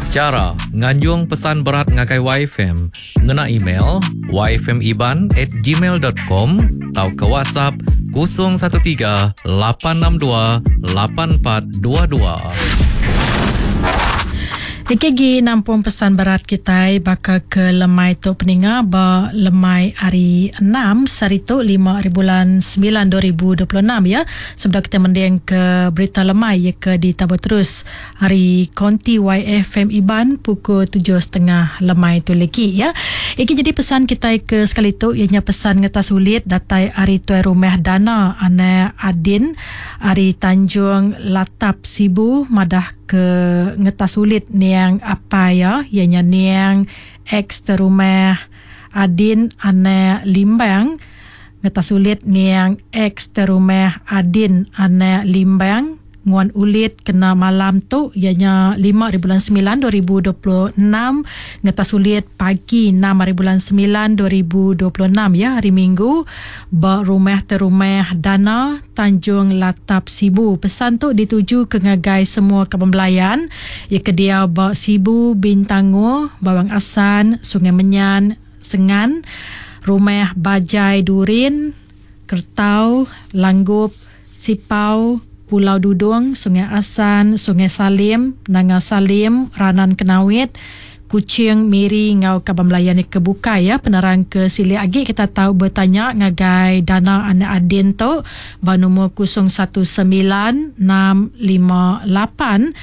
Chara nganjung pesan berat ngagai YFM ngena email yfmiban at gmail dot com tauka WhatsApp 013 862 8422. Igi agi nampung pesan berat kitai baka ke lemai tu peninga ba lemai hari enam sehari tu lima hari bulan semilan 2026 ya. Sebedau kitai mending ke berita lemai iya ke ditabur terus Ari Konti YFM Iban pukul tujuh setengah lemai tu legi ya. Igi jadi pesan kitai ke sekali tu iya nya pesan ngetas ulit datai ari Tuai Rumah Dana anak Adin ari Tanjung Latap Sibu madah ke ngetas ulit niang apai iya iya nya niang ex Terumah Adin anak Limbang ngetas ulit niang ex Terumah Adin anak Limbang. Nguan ulit kena malam tu iya nya lima hari bulan semilan 2026 ngetas ulit pagi enam hari bulan semilan 2026 iya hari Minggu ba Rumah Terumah Dana Tanjung Latap Sibu. Pesan tu dituju ke ngagai semua kaban belayan iya ke diau ba Sibu, Bintangor, Bawang Assan, Sungai Menyan, Sengan, Rumah Bajai Durin, Kertau, Langgup, Sipau, Pulau Dudong, Sungai Assan, Sungai Salim, Nanga Salim, Ranan Kenawit, Kuching, Miri enggau kaban belayan iya ke bukai ya. Penerang ke silik agi kita tau betanya ngagai Dana Anak Adin tu ba numur 019 658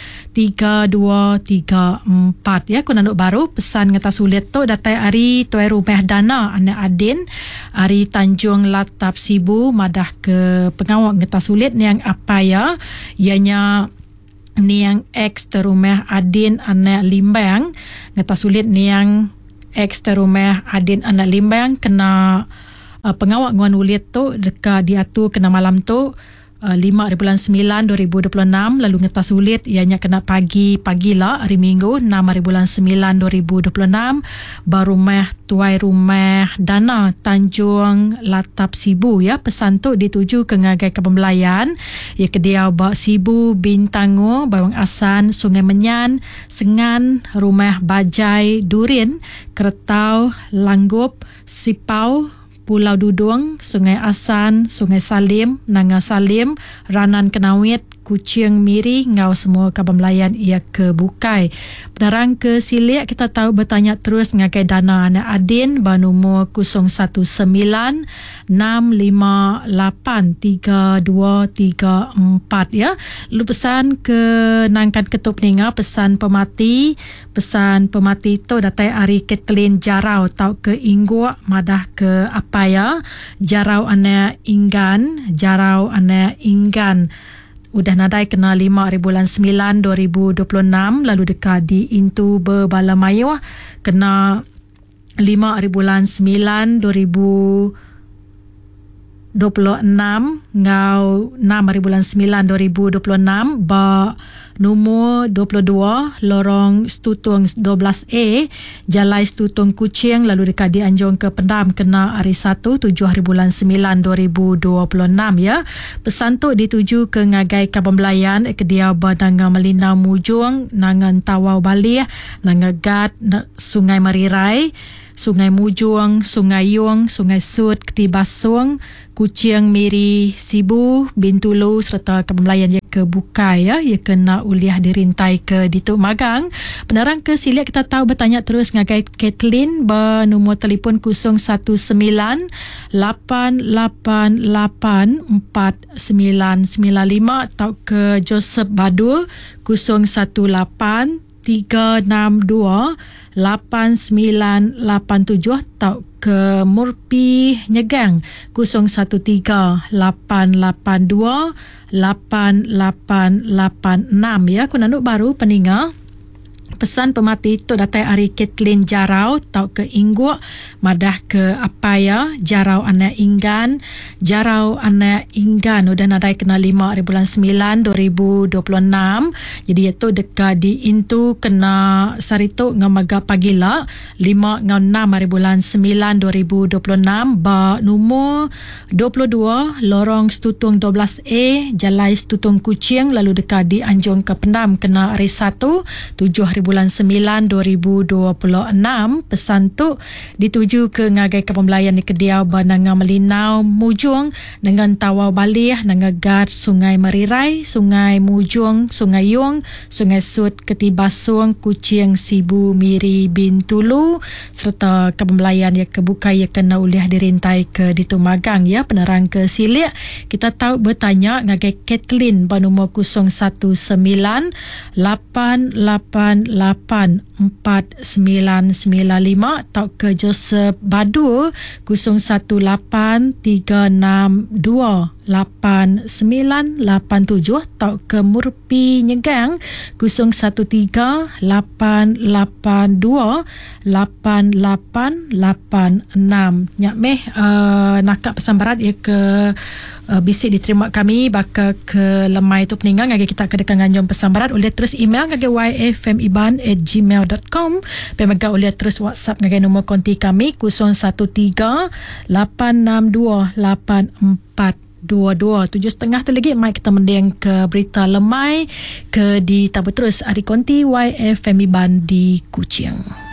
3234 ya. Ku nandu baru pesan ngetas ulit tu datai ari Tuai Rumah Dana Anak Adin ari Tanjung Latap Sibu madah ke pengawa ngetas ulit niang apai iya, iya nya niang ex Terumah Adin anak Limbang. Ngetas ulit niang ex Terumah Adin anak Limbang kena pengawa nguan ulit tu deka diatur kena malam tu lima hari bulan semilan 2026 lalu ngetas ulit iya nya kena pagi pagila hari Minggu enam hari bulan semilan 2026 ba rumah Tuai Rumah Dana Tanjung Latap Sibu ya. Pesan tu dituju ke ngagai kaban belayan iya ke diau ba Sibu, Bintangor, Bawang Assan, Sungai Menyan, Sengan, Rumah Bajai Durin, Keretau, Langgup, Sipau, Pulau Dudong, Sungai Assan, Sungai Salim, Nanga Salim, Ranan Kenawit, Kuching, Miri enggau semua kaban belayan iya ke bukai. Penerang ke silik kita tau betanya terus ngagai Dana anak Adin ba numur 019 658 3234 ya. Lalu pesan ke nangkan ke tu peninga pesan pemati. Pesan pemati tu datai ari Kathleen Jarau tauka Ingguk madah ke apai iya Jarau anak Inggan, Jarau anak Inggan udah nadai kena lima ari bulan semilan 2026 lalu deka diintu bebala mayuh kena lima ari bulan semilan 2026 enggau enam ari bulan semilan 2026 ba numur 22 Lorong Stutung 12A, Jalai Stutung Kuching lalu deka dianjung ke pendam kena hari Satu tujuh ari bulan semilan 2026 ya. Pesan tu dituju ke ngagai kaban belayan ke diau ba Nanga Melinau Mujong, Nanga Entawau Balih, Nanga Gat, Sungai Merirai, Sungai Mujong, Sungai Yong, Sungai Sut, Keti Basong, Kuching, Miri, Sibu, Bintulu sereta ke belayan iya ke bukai ya, iya ke enda ulih dirintai ke ditu magang. Penerang ke silik kita tau betanya terus ngagai Kathleen ba numur telefon 019 888 4995 tauka Joseph Badul 018 362 8987 tauka Murpi Nyegang 013 882 8886 ya. Ku nandu baru peninga pesan pemati tu datai ari Kathleen Jarau tauka Ingguk madah ke apai iya Jarau anak Inggan. Jarau anak Inggan udah nadai kena lima ari bulan semilan 2026. Jadi iya tu deka diintu kena sehari tu enggau mega pagila lima enggau enam ari bulan semilan 2026 ba numur 22 Lorong Stutung 12A, Jalai Stutung Kuching lalu deka dianjung ke pendam kena hari Satu, tujuh hari. bulan 9 2026. Pesan tu dituju ke ngagai ke pembelayan di Kediau ba Nanga Melinau Mujong dengan Tawau Balih Nanga Gat Sungai Merirai Sungai Mujong Sungai Yong Sungai Sut Ketibasung Kuching Sibu Miri Bintulu serta ke pembelayan ya ke bukai ya kena ulih dirintai ke ditu magang ya. Penerang ke silik kita tahu bertanya ngagai Kathleen ba nombor 019 888 4995 atau ke Joseph Badu 018 362 8987 atau ke Murpi Nyegang 013 882 8886. Nyak meh nakak pesan berat ya ke bisik diterima kami baka ke lemai tu peninggang ngagai kita ke dekat nganjung pesan berat oleh terus email ngagai yfmiban@gmail.com pemega oleh terus WhatsApp ngagai nombor konti kami 013 862 8422. 7.30 tu lagi mai kita mending ke berita lemai ke di tabu terus ari konti YFM Iban di Kuching.